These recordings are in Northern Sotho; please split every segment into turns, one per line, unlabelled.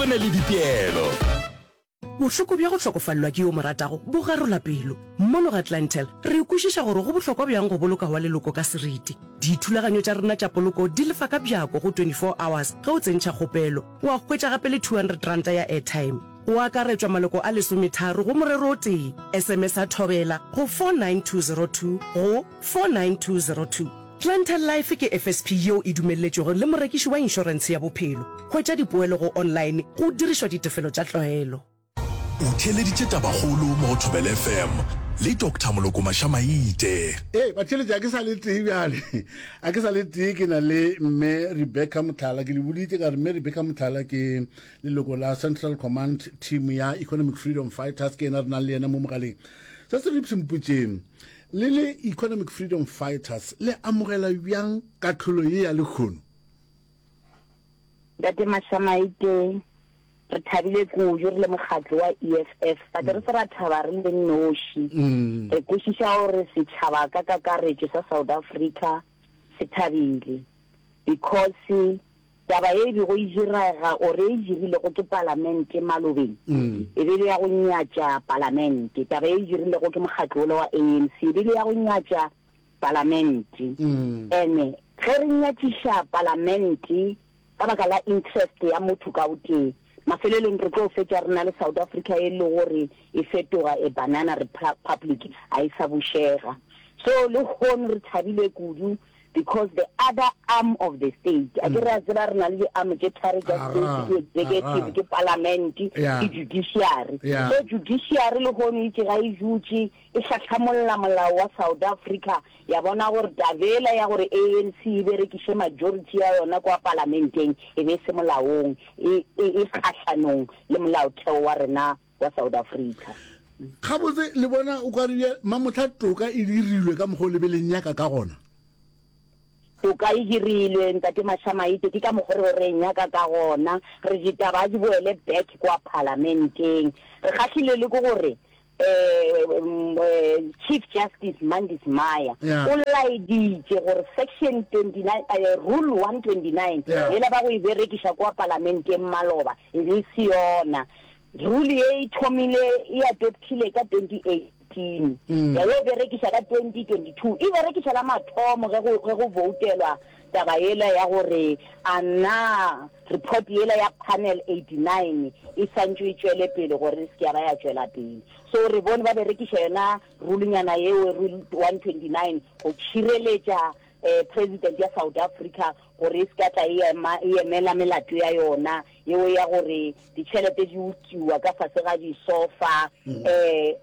Go na le dipeelo.
Bohloko bja go hlokofalelwa ke yo o mo ratago bo garola pelo. Mono ga Clientele, re kwešiša gore go bohlokwa bjang go boloka wa leloko ka seriti. Dithulaganyo tša rena tša poloko di lefa ka bjako go 24 hours ge o tsentšha kgopelo. Wa hwetša gape le R200 ya airtime. Go akaretšwa maloko a lesometharo go morero o tee. SMS-a Thobela go 49202 go 49202. Clientele Life ke FSP yeo e dumelletšwego le morekiši wa inšorentshe ya bophelo. Hwetša dipoelo go online go dirišwa ditefelo tša tlwaelo.
O theeleditše Tabakgolo mo go Thobela FM le Doctor Moloko Mashamaite.
Ee, batheeletši, a ke sa le tee bjale. A ke sa le tee, ke na le Mme Rebecca Motlhala. Ke le boditše ka re Mme Rebecca Motlhala ke leloko la Central Command Team ya Economic Freedom Fighters, ke yena re nang le yena mo mogaleng. Se se re mpotšeng, le le Economic Freedom Fighters le amogela bjang kahlolo ye ya lehono?
Ntate Mashamaite, re thabile kudu re le mokgatlo wa EFF, but re se ra thaba re le noši. Re kwešiša gore setšhaba ka kakaretšo sa South Africa se thabile because taba ye e bego e direga or e dirilego ke palamente malobeng e be le ya go nyatša palamente. Taba ye e dirilego ke mokgatlo wola wa ANC e be le ya go nyatša palamente. Ene ge re nyatšiša palamente ka baka la interest ya motho ka o tee, mafelelong re tlo fetša re na le South Africa e le gore e fetoga a banana republic, a e sa bušega. So lehono re thabile kudu because the other arm of the state, a ke re a tseba re na le di-arm tše tharo tša state, ke executive, ke parliament, ke judiciary. So judiciary lehono itše ga e dutše e hlahlamolla molao wa South Africa ya bona gore taba yela ya gore ANC e berekiše majority ya yona kwa palamenteng e be e se molaong, e, e, e kgahlanong le molaotheo wa rena wa South Africa.
Gabotse, le bona o ka re mamohla toka e dirilwe ka mokgwa o le be le nyaka ka gona?
Toka e dirilwe, Ntate Mashamaite, ke ka mokgwa re be re e nyaka ka gona. Re ditaba a di boele back kwa palamenteng. Re kgahlilwe le ke gore um Chief Justice Mandis Maya o laeditše gore Section 29, Rule 129 yela ba go e berekiša kwa palamenteng maloba e be e se yona. Rule ye e thomile e adoptile ka 2018, ya yo berekiša ka 2022, e berekiša la mathomo ge go ge go voutelwa taba yela ya gore a na report yela ya panel 89 e santšwe e tšwele pele gore e se ke ya ba ya tšwela pele. So re bone ba berekiša yona rulenyana yeo, rule 129, go tšhireletša President ya South Africa gore e se ka tla e ema e emela melato ya yona yeo ya gore ditšhelete di utiwa ka fase ga disofa um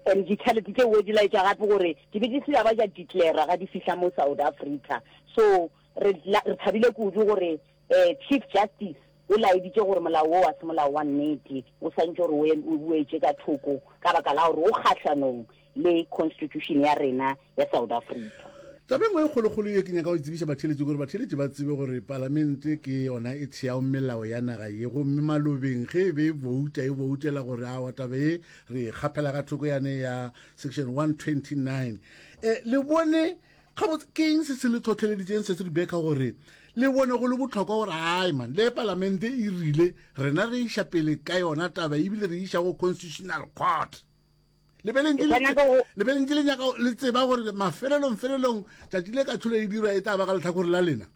and ditšhelete tšeo di laetša gape gore di be di se ba ja declara ga di fihla mo South Africa. So re re thabile kudu gore um Chief Justice o laeditše gore molao wo wa se molao wa nnete o santše gore o boetše ka thoko ka baka la gore o kgahlanong le constitution ya rena ya South Africa.
Taba e nngwe e kgolokgolo ye ke nyaka go e tsebiša batheeletši gore batheeletši ba tsebe gore palamente ke yona e theago melao ya naga ye, gomme malobeng ge e be e bouta e boutela gore awa taba ye re e kgaphela ka thoko yane ya section 129. E, le bone gabotse ke eng se se le tlhotlheleditseng se se Rebecca gore le bone go le botlhokwa gore ai man le palamente e rile rena re iša pele ka yona taba ebile re iša go constitutional court. Le be le ntše le nyaka le tseba gore mafelelong felelong tšatši le kahlolo e dirwa e tla ba ka lehlakore la lena?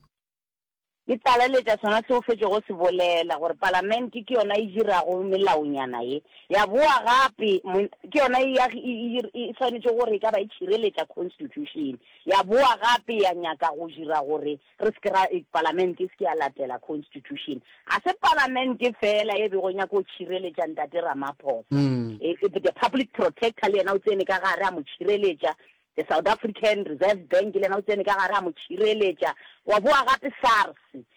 Ke tlaleletša sona se o fetšego se bolela, gore Palamente ke yona e dirago melaonyana ye. Ya boa gape, ke yona e, e, e, e swanetše gore e ka ba e tšhireletša Constitution. Ya boa gape ya nyaka go dira gore Re se ke ra, palamente e se ke ya latela constitution. Ga se palamente feela e bego e nyaka go tšhireletša Ntate Ramaphosa. E, e, the public protector le yena o tsene ka gare a mo tšhireletša. The South African Reserve Bank le yena o tsene ka gare a mo tšhireletša. Wa boa gape SARS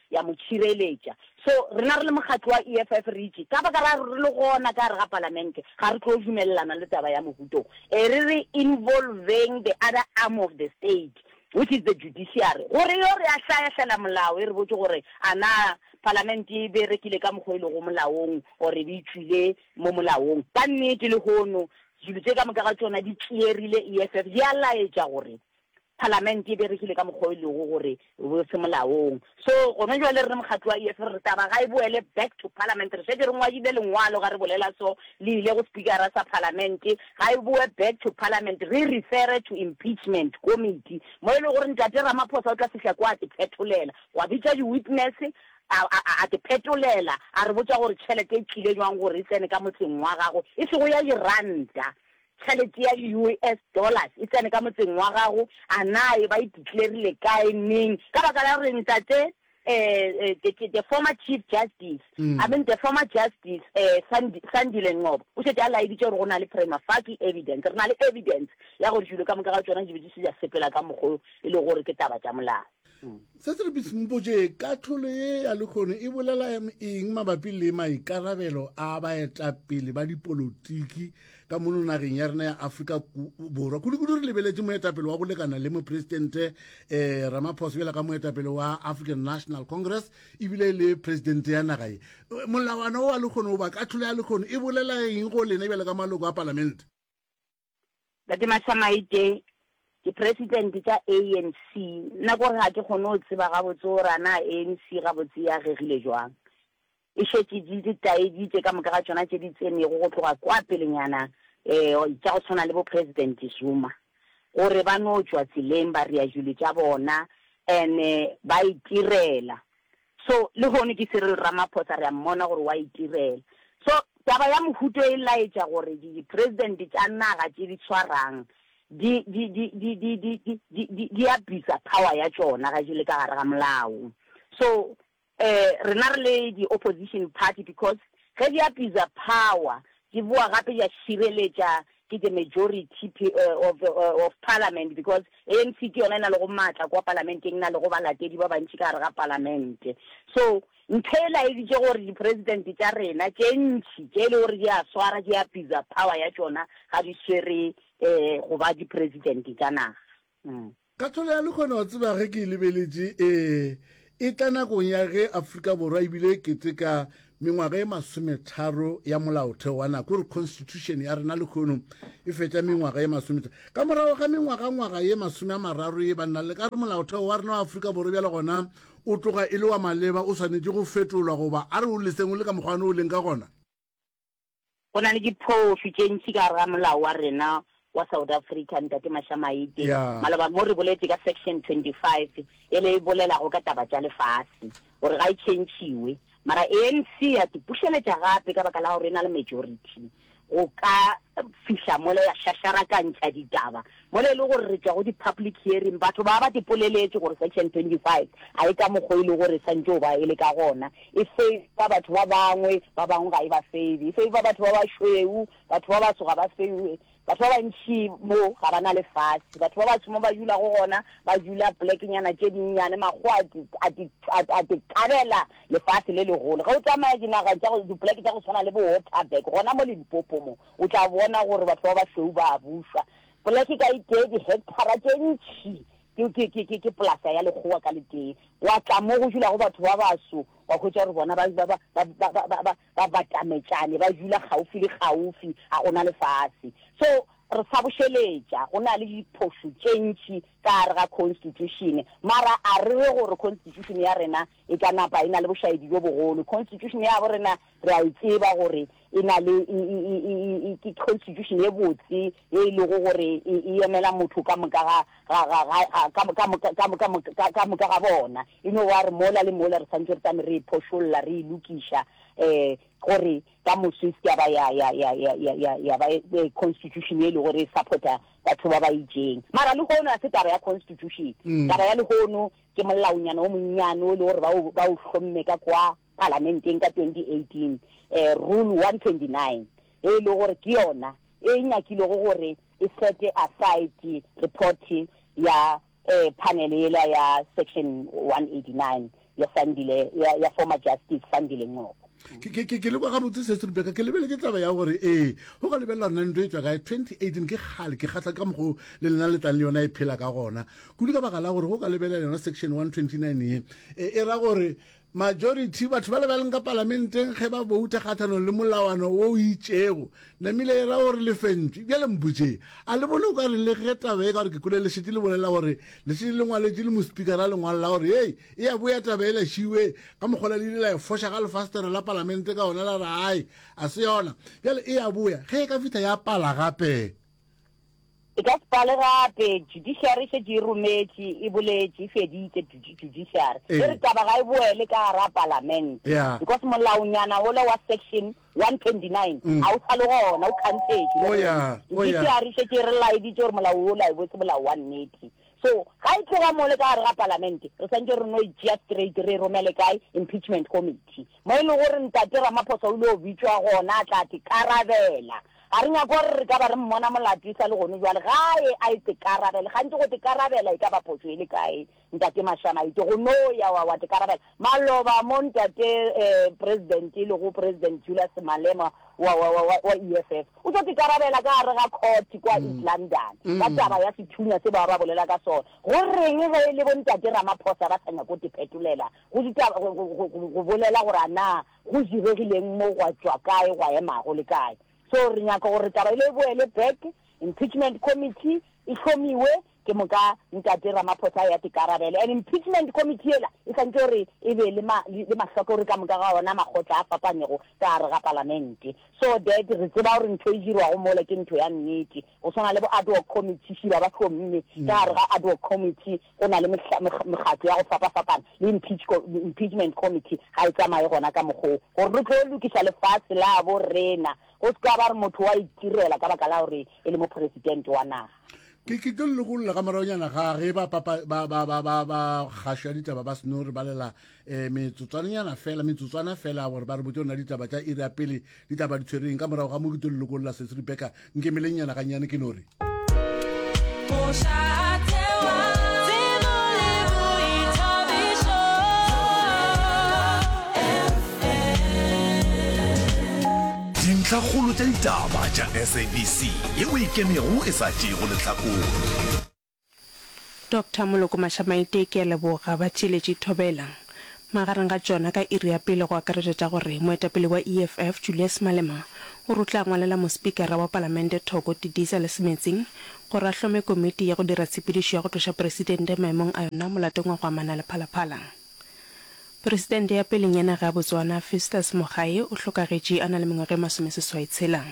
ya mo tšhireletša. So rena re le mokgatlo wa EFF re itše ka baka la re le gona ka gare ga palamente ga re tlo dumelelana le taba ya mohuto. E re re involveng the other arm of the state which is the judiciary, gore yo re ahlaahlela molao e re botše gore a na palamente e berekile ka mokgwa e lego molaong or e be e tšwile mo molaong. Ka nnete lehono dilo tše ka moka ga tšona di clearile EFF, di a laetša gore Palamente e berekile ka mokgwa o e lego gore bo se molaong. So gona jwale re le mokgatlo wa EFF re re taba ga e boele back to parliament. Re šetše re ngwadile lengwalo ga re bolela so, le ile go Speakera sa Palamente, ga e boe back to parliament, re e refere to impeachment committee mo e lego gore Ntate Ramaphosa o tla fihla kwa a te phetholela, gwa bitšwa di-witness a, a, a te phetolela, a re botša gore tšhelete e tlile jwang gore e tsene ka motseng wa gago, e sego ya diranta. Tšhelete ya di-US dollars e tsene ka motseng wa gago, a na e ba e declarile kae, neng? Ka baka la gore ntate eh, the, the former chief justice, I mean the former justice eh, Sandi, Sandile Ngcobo o šetše a laeditše gore go na le prima facie evidence, re na le evidence ya gore dilo ka moka ga tšona di be di se di a sepela ka mokgo e le gore ke taba tša molao.
Se se re mpotše, kahlolo ye ya lehono e bolela eng mabapi le maikarabelo a baetapele ba dipolotiki ka mono nageng ya rena ya Afrika Borwa, kudu-kudu re lebeletše moetapele wa go lekana le mopresidente um Ramaphosa bjalo ka moetapele wa African National Congress ebile le presidente ya naga ye. Molawana wo wa lehono goba kahlolo ya lehono e bolela eng go lena bjalo ka maloko a palamente?
Ntate Mashamaite, Ke president tša ANC, nna kore ga ke kgone go tseba gabotse gore a na ANC gabotse e agegile jwang. E šetše di di taeditše ka moka ga tšona tše di tsenego go tloga kwa pelenyana um tša go tshwana le bo President Zuma gore ba no tšwa tseleng ba rea dilo tša bona and ba itirela. So lehono ke Cyril Ramaphosa re a mmona gore wa itirela. So taba ya mohuto e laetša gore di president tša naga tše di tshwarang di di di di di di di di di di abuser power ya tšona ga di le ka gare ga molao. So eh rena re le di opposition party because ge di abuser power di boa gape di a šireletša ke the majority of, of parliament because ANC ke yona e na le go maatla kwa palamenteng, e na le go balatedi ba bantši ka gare ga palamente. So ntho e laeditše gore di-president tša rena tše ntši tše e le gore di a swara di abuser power ya tšona ga di swere um go ba di-president tša naga.
Mm. Kahlolo ya lehono wa tseba ge ke e lebeletše e e tla nakong ya ge Afrika Borwa ebile e keteka mengwaga e masometharo ya molaotheo wa nako gore constitution ya rena lehono e fetša mengwaga e masometharo ka morago ga mengwagangwaga ye masome a mararo ye banna le ka re molaotheo wa rena wa Afrika Borwa bjale gona o tloga e le wa maleba o swanetše go fetolwa goba a re o leseng o le ka mokgwane o leng ka gona.
Go na le diphošo tše ntši ka gare ga molao wa rena wa South Africa, Ntate Mashamaite.
Yeah.
Maloba mo re boletše ka Section 25 ele e bolelago ka taba tša lefase gore ga e tšhentšhiwe. Mara ANC ya tipušeletša gape ka baka la gore e na le majority go ka fihla mola ya šašarakantšha ditaba mola e le gore re tšwa go di-public hearing, batho ba ba tipoleletše gore Section 25 a e ka mokgo e le gore e santše go ba e le ka gona. E favor batho ba bangwe, ba bangwe ga e ba favor. E favor batho ba bašweu, batho ba baso ga ba favor. Batho ba bantši mo ga ba na lefase. Batho ba baso mo ba dulago gona, ba dula polekenyana tše dinnyane, makgowa a ti, a ti, a ti kabela lefase le legolo. Ge o tsamaya dinaga tša go, dipoleke tša go tshwana le bo Waterberg, gona mo Limpopo mo, o tla bona gore batho ba bašweu ba a bušwa. Poleke ka e tee, dihekthara tše ntši Ke, ke, ke, ke, ke polasa ya lekgowa ka letee. Wa tla mo go dulago batho ba baso, wa hwetša gore bona ba, ba, ba, ba, ba, ba, ba, ba, ba batametšane, ba dula kgaufi le kgaufi, ga go na lefase. So, re sa bošeletša, go na le diphošo tše ntši ka gare ga constitution, mara a re re gore constitution ya rena e ka napa e na le bošaedi bjo bogolo. Constitution ya bo rena re a e tseba gore e na le, e, e, e, e, e, ke constitution ye botse ye e lego gore e, e emela motho ka moka ga, ga, ga, ga, ga, ka, ka moka, ka, ka, ka, ka moka ga bona. E no ba re mola le mola re santše re tame re e phošolla, re e lokiša, um gore ka moso e se ke ya ba ya, ya, ya, ya, ya, ya, ya ba e, constitution ye e lego gore e supporta batho ba ba itšeng. Mara lehono ga se taba ya constitution. Taba ya lehono ke molaonyana o monnyane o e le gore ba o, ba o hlomme ka kwa Palamenteng ka 2018, Rule 129, e e lego gore ke yona e nyakilego gore e sete aside report ya panel yela ya Section 189 ya Sandile, ya, ya former Justice Sandile Ngcobo.
Ke, ke, ke, ke le kwa gabotse se Rebecca, ke lebeletše taba ya gore ee, go ka lebelela rena ntho e tšwa kae 2018 ke kgale ke kgahla ka mokgo le lena le tlang le yona e phela ka gona kudu ka baka la gore go ka lebelela yona section 129 ye e, e ra gore. Majority, batho ba le ba leng ka palamenteng ge ba bouta kgathanong le molawana wo o itšego, namile e ra gore le fentšwe. Bjale mpotšeng, a le bone o ka re le ge taba e ka gore ke kwele le šetše le bolela gore le šetše le ngwaletše le mospikara lengwalo la gore hei e a boya taba ela šiwe ka mokgola le ile la e foša ka lefastere la palamente ka ona la re ai a se yona bjale e a boya ge e ka fihla ya pala gape.
E ka se pale gape. Judiciary e šetše e rometše, e boletše, e feditše judiciary. E re taba ga e boele ka gare ga palamente. Because molaonyana wola wa section 129 ga o sa le gona, o khansetšwe. Judiciary e šetše e re laeditše gore molao wola e bo se molao wa nnete. So ga e tloga mole ka gare ga palamente, re swantše re no e tšea straight re e romele kae? Impeachment committee. Mo e lego gore Ntate Ramaphosa o ile go bitšwa gona a tla tekarabela. Ga re nyake gore re ka ba re mmona molato e sa le gone bjale. Gae a e tekarabele. Gantši go tekarabela e ka ba phošo e le kae, Ntate Mashamaite? Go no ya wa, wa tekarabela. Maloba mo Ntate eh, President e lego President Julius Malema wa, wa, wa, wa, wa EFF o tlo tekarabela ka gare ga court kwa East London ka taba ya sethunya se ba ba bolela ka sona. Go reng ge e le bo Ntate Ramaphosa ba sa nyake go te phetolela go ditaba, go, go, go, go bolela gore a na go diregileng mo, gwa tšwa kae, gwa ema go le kae. So re nyaka gore taba ele e boele back, impeachment committee e hlomiwe, ke moka Ntate Ramaphosa a ya tekarabele. And impeachment committee yela e swantše gore e be le ma, le mahlakore ka moka ga ona makgotla a fapanego ka gare ga palamente, so that re tseba gore ntho e dirwago mola ke ntho ya nnete. Go swana le bo ad hoc committee, šiba ba hlomme ka gare ga ad hoc committee go na le mekgatlo ya go fapafapana le impeachment committee ga e tsamaye gona ka mokgwa wo gore re tlo lokiša lefase la bo rena go se ka ba re motho wa itirela ka baka la gore e le mopresidente wa naga.
Ke ke tlo lokolla ka moragonyana ga ge ba papa ba ba ba ba ba kgašo ya ditaba ba seno re balela um metsotswananyana fela metsotswana fela gore ba re botse rona ditaba tša iri ya pele ditaba di tshwereng ka morago ga mo ke tlo lokolla sesi rebecca nkemelengnyana gannyane ke no re
Dintlhakgolo tša ditaba tša SABC yeo e ikemego e sa tšeego lehlakore.
Doctor Moloko Mashamaite ke a leboga ba tšeletše thobela. Magareng ga tšona ka iri ya pele go akaretšwa tša gore moetapele wa EFF Julius Malema o re o tla ngwalela mospikara wa palamente Thoko Didiza le Semetsing gore a hlome komiti ya go dira tshepedišo ya go tloša presidente maemong a yona molatong wa go amana le Phalaphala. Presidente ya peleng ya naga ya Botswana Festus Mogae o hlokagetše a na le mengwaga e masomeseswaitshela.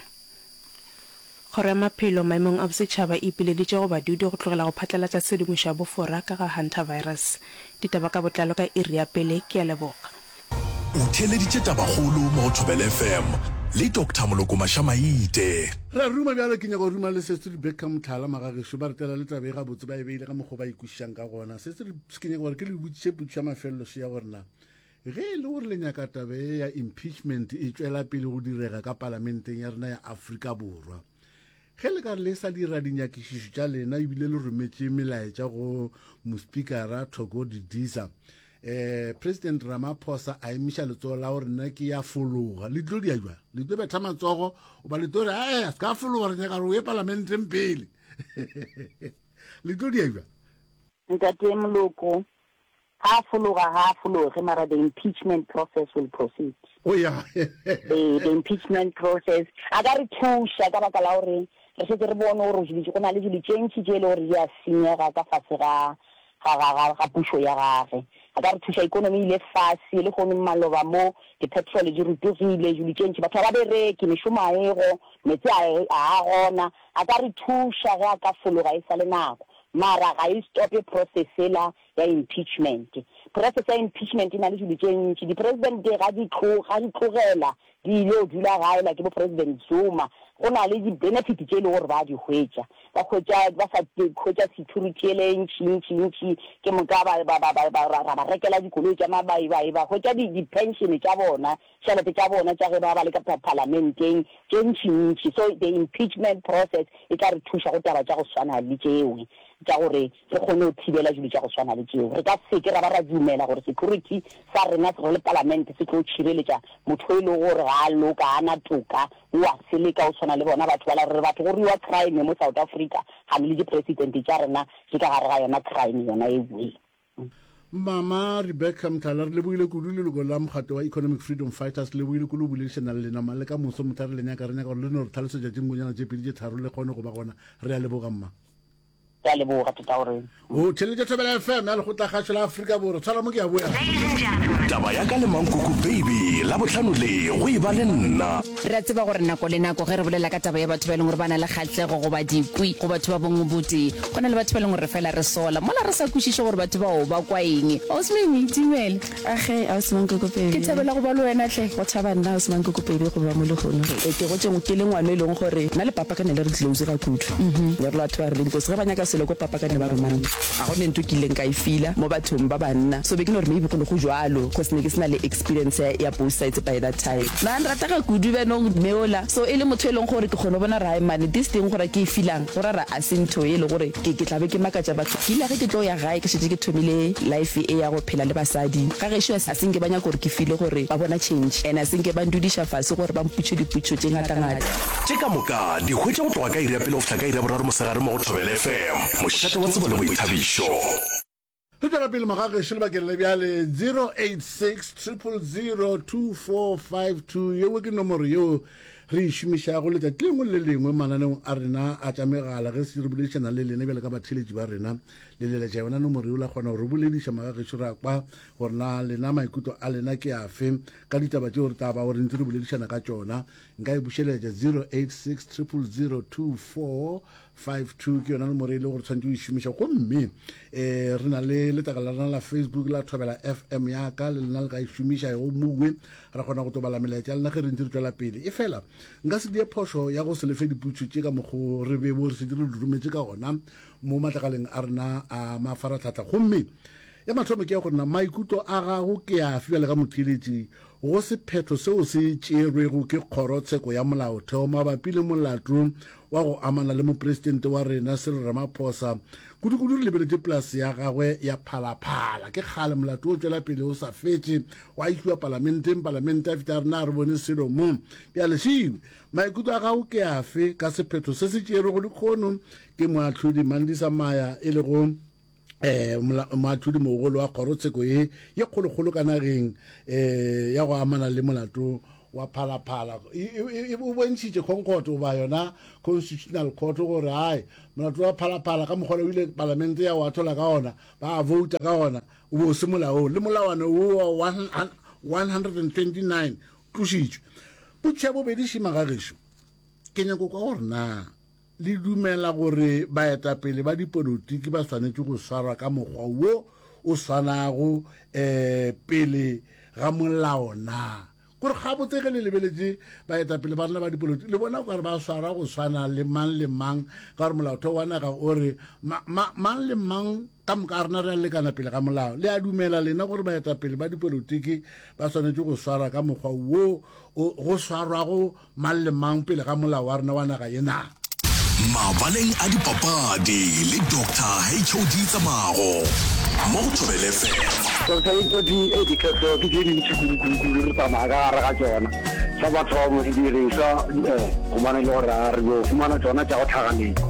Kgoro ya Maphelo maemong a bosetšhaba e ipileditše go badudi go tlogela go phatlalatša tshedimošo ya bofora ka ga Hantavirus. Ditaba ka botlalo ka iri ya pele. Ke a leboga.
O theeleditše Tabakgolo mo go Thobela FM le Doctor Moloko Mashamaite.
Re a ruma bjale, ke nyaka go ruma le Sesi Rebecca Mohlala magagešo, ba re tlela le taba e gabotse, ba e beile ka mokgwa o ba e kwešišang ka gona. Sesi, ke nyaka gore ke le botšiše potšišo ya mafelelo še ya gore na Ge e le gore le nyaka taba ye ya impeachment e tšwela pele go direga ka palamenteng ya rena ya Afrika Borwa, ge le ka re le sa dira dinyakišišo tša lena ebile le rometše melaetša go mospikara Thoko Didiza, eh, President Ramaphosa a emiša letsogo la gore nna ke ya fologa, le tlo dia jwang? Le tlo betha matsogo goba le tlo re ae a se ka fologa, re nyaka gore o ye palamenteng pele? Le tlo dia jwang?
Ntate Moloko, Ga a fologa ga a fologe mara the impeachment process will proceed.
Oh yeah.
Ee, the impeachment process a ka re thuša ka baka la gore re šetše re bone gore dilo go na le dilo tše ntši tše e le gore di a senyega ka fase ga ga ga ga ga pušo ya gage. A ka re thuša ikonomi e ile fase le kgono maloba mo di-petrol di rotogile dilo tše ntši batho ga ba bereke mešomo a ego meetse a a a gona. A ka re thuša ge a ka fologa e sa le nako mara ga e stope process ela ya impeachment. Process ya impeachment e na le dilo tše ntši. Di-president ga di tlo, ga di tlogela di ile go dula gae like bo President Zuma, go na le di-benefit tše e le gore ba di hwetša. Ba hwetša, ba sa hwetša security ele e ntši ntši ntši, ke moka ba, ba, ba, ba, ba, ra ba rekela dikoloi tša mabaibai, ba hwetša di, di-pension tša bona, tšhelete tša bona tša ge ba ba le ka palamenteng tše ntši ntši. So the impeachment process e tla re thuša go taba tša go swana le tšewe tša gore re kgone go thibela dilo tša go swana le tšeo. Re ka se ke ra ba ra dumela gore security sa rena re le palamente se tlo tšhireletša motho e lego gore ga a loka, ga a na toka, o a seleka, o tshwana le bona batho bala. Re re batho go ruiwa crime mo South Africa, kgane le di-president tša rena di ka gare ga yona crime yona ewe.
Mama Rebecca Mthala, re lebogile kudu leloko la mokgatlo wa Economic Freedom Fighters, le lebogile kudu go boledišana le lena ma le ka moso motha re le nyaka, re nyaka gore le no re tlhalosetša tše nngwenyana tše pedi tše tharo le kgone go ba gona. Re a leboga mma.
Ke a leboga tata gore.
O theeletša Thobela FM ya Lekgotlakgašo la Afrika Borwa. Tshwara mo ke a boya.
Taba ya ka le Mankoko Baby Labohlano le go e ba le nna.
Re a tseba gore nako le nako ge re bolela ka taba ya batho ba e leng gore ba na le kgahlego goba dikwi go batho ba bongwe botee, go na le batho ba e leng gore re fela re sola mola re sa kwešiše gore batho bao ba kwa eng. Ausi Mimi, dumela.
Age, Ausi Mankoko Baby.
Ke thabela go ba le wena hle.
Go thaba nna, Ausi Mankoko Baby, go ba mo lehono. Ke gotše ke le ngwana e leng gore nna le papa ka ne le re close ga kudu. Ne re le batho ba re leng close. Ge ba nyaka selo ko papa ka ne ba roma nna. Ga go ne ntho ke ileng ka e feela mo bathong ba banna. So be ke no re maybe go ne go jwalo cause ne ke se na le experience ya, ya both sides by that time. Ba nrata ga kudu bjanong mme ola. So e le motho e leng gore ke kgona go bona gore hai mane this thing gore ke e feelang go ra re a se ntho e le gore ke, ke tla be ke makatša batho. Ke ile ge ke tlo ya gae ke šetše ke thomile life e ya go phela le basadi. Ga gešo a se nke ba nyaka gore ke feele gore ba bona change and a se nke ba ndudiša fase gore ba mpotše dipotšišo tše ngatangata.
Tše ka moka di hwetša go tloga ka iri ya pele go fihla ka iri ya boraro mosegare mo go Thobela FM, mošate wa tsebo le boithabišo.
Re tšwela pele magagešo lebakeng le bjale 086 000 2452 yeo ke nomoro yeo re e šomišago letšatši lengwe le lengwe mananeong a rena a tša megala ge se re boledišana le lena bjale ka batheeletši ba rena le leletša yona nomoro yeo la kgona go re bolediša magagešo ra kwa gore na lena maikutlo a lena ke afe ka ditaba tšeo re tla ba gore ntse re boledišana ka tšona nka e bušeletša 086 000 2452 ke yona nomoro e le gore tshwanetse o e šomiša gomme um re na le letlakala la rena la facebook la thobela fm yaka le lena le ka e šomiša go mowe ra kgona go tobala melaetša ya lena ge re ntse re tšwela pele e fela nka se die phošo ya go se lefe diputšo tše ka mokgo re bebo re setse re di rometše ka gona mo matlakaleng a rena a mafaratlhatlha gomme ya mathomo ke ya gore na maikutlo a gago ke afe bjale ka motheeletši go sephetho seo se tšerwego ke Kgorotsheko ya Molaotheo mabapi le molato wa go amana le Mopresidente wa rena Cyril Ramaphosa, kudukudu re lebeletše polase ya gagwe ya Phalaphala. Ke kgale molato o tšwela pele o sa fetše, wa išiwa palamenteng, palamente ya fihla ya re na re bone selo mo. Bjale šiwe, maikutlo a gago ke afe ka sephetho se se tšerwego lekgono ke Moahlodi Mandisa Maya e lego um moahlodi mogolo wa kgorotsheko ye ye kgolokgolo ka nageng um ya go amana le molato wa phalaphala o bontšhitše concord goba yona constitutional court gore ai molato wa phalaphala ka mokgwa o ile palamente ya o athola ka ona ba vouta ka ona o be o se molaong le molawana wo wa 129 tlošitšwe potšiša bobedi šima ga gešo ke nyako kwa gore na Le dumela gore baetapele ba dipolotiki ba swanetše go swarwa ka mokgwa wo o swanago um pele ga molao na? Kore gabotse ge le lebeletše baetapele ba rena ba dipolotiki, le bona okare ba swarwa go swana le mang le mang, ka gore molaotheo wa naga o re ma, ma, mang le mang ka moka a rena re a lekana pele ga molao. Le a dumela lena gore baetapele ba dipolotiki ba swanetše go swarwa ka mokgwa wo o, go swarwago Mang le mang pele ga molao wa rena wa naga ye na?
Mabaleng a dipapadi le Doctor HOD Tsamago mo go Thobela FM.
Doctor HOD, Ee, ditlhohlo ke tše dintši kudu-kudu-kudu re tsamaya ka gare ga tšona. Sa mathomo didirišwa gobane e le gore a re yo fumana tšona tša go tlhaganetša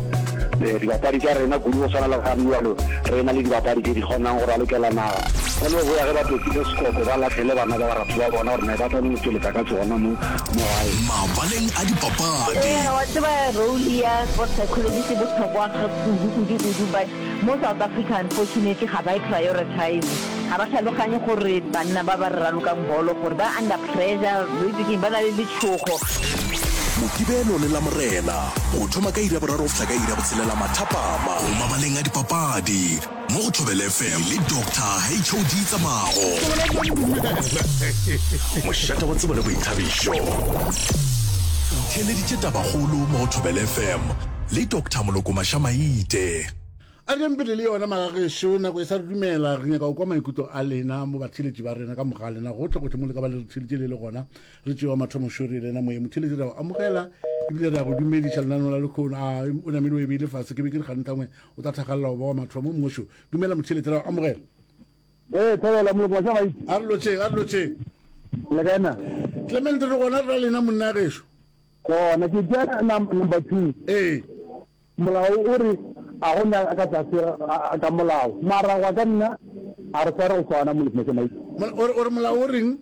dibapadi tša rena kudu go swana le gane bjalo re na le dibapadi tše di kgonang go ralokela naga. Ba no boya ge ba topile sekoko ba lahlele bana ba baratho ba bona gore ne ba tla no tšweletša ka tsona mo mo gae.
Mabaleng a dipapadi.
Ee, wa tseba role ya sports psychologist e bohlokwa kudu kudu kudu but mo South Africa unfortunately ga ba e prioritize. Ga ba hlaloganye gore banna ba ba re ralokang bolo gore ba under pressure, o itse keng, ba na le letšhogo.
Mokibelo le Lamorena go thoma ka iri ya boraro go fihla ka iri ya botshelela mathapama go Mabaleng a Dipapadi mo go Thobela FM le Doctor HOD Tsamago. Mošate wa tsebo le boithabišo. Theeleditše tabakgolo mo go Thobela FM le Doctor Moloko Mašamaite.
A re pele le yona magagešo, nako e sa re dumela, re nyaka go kwa maikutlo a lena mo batheeletši ba rena ka moka ga lena gohle gohle mo le ka ba le re theeletše le le gona. Re tšewa mathomo šo re lena moye motheeletši re a go amogela ebile re a go dumediša lenaneo la lekhono. A o namile o e beile fase, ke be ke re gantangwe o tla thakgalela go ba wa mathomo mmošo. Dumela motheeletši re a go amogela.
Ee, thobela moloko wa Šabaitse.
A re lotšheng, a re lotšheng.
Le kae na?
Clement re gona re ra lena monna gešo.
Gona ke tšea number 2.
Ee.
Molao o re a go na ka tlase ga molao. Mara gwa ka nna. A re sware go swana moloko Mosemaite.
O re, o re molao o reng?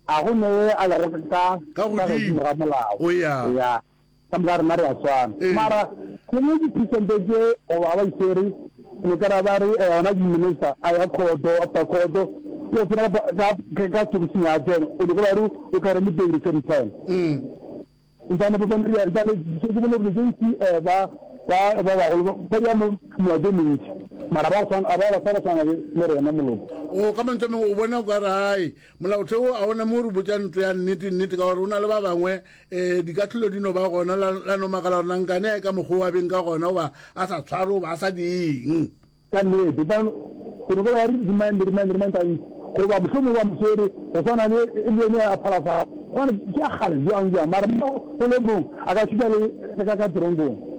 A go ne a lego ka
Ka
ka
godimo.
godimo ga molao.
O ya.
Ya. Ka moka rena re a swana.
Ee.
Mara gongwe di-percent tše goba ba itshwere ne ka ra ba re eh, ona di-minister a ya khoto after khoto o tsena ka ka ka tokising ya tsena o nyaka ba re o kare le bail same time.
Mm.
Ntane ba ba ria ntane se ke bone gore tse eh ba ba ba bagolo ba ba mo molato e mentši mara ba go tshwana a ba ba sa tshwana le le rena moloko.
O ka mantswe a mangwe o bona o ka re hai molaotheo a ona mo re botša ntlo ya nnete nnete ka gore o na le ba bangwe um dikahlolo di no ba gona la la no makala gore nankane a e ka mokgwa o a beng ka gona goba a sa tshware goba a sa dieng.
Ka nnete, ba gore ba re remand, remand, remand gantsi, goba mohlomongwe ba mo swere go swana le le yone ya Phalafala, gobane ke ya kgale bjang bjang, mara mo go le mong a ka šutha le ka ka teronkong.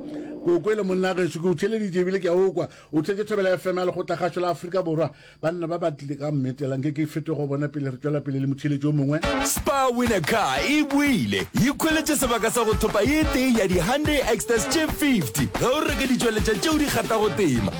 Ke o kwele monna gešo, ke o theeleditše ebile ke a o kwa. O theetše Thobela FM ya Lekgotlakgašo la Afrika Borwa. Banna ba ba tlile ka mmetela, nke ke fete go bona pele re tšwela pele le motheeletši o mongwe.
Spar Win a Car e boile! Ikhweletše sebaka sa go thopa ye tee ya di Hyundai Exter tše 50 ge o reka ditšweletša tšeo di kgathago tema.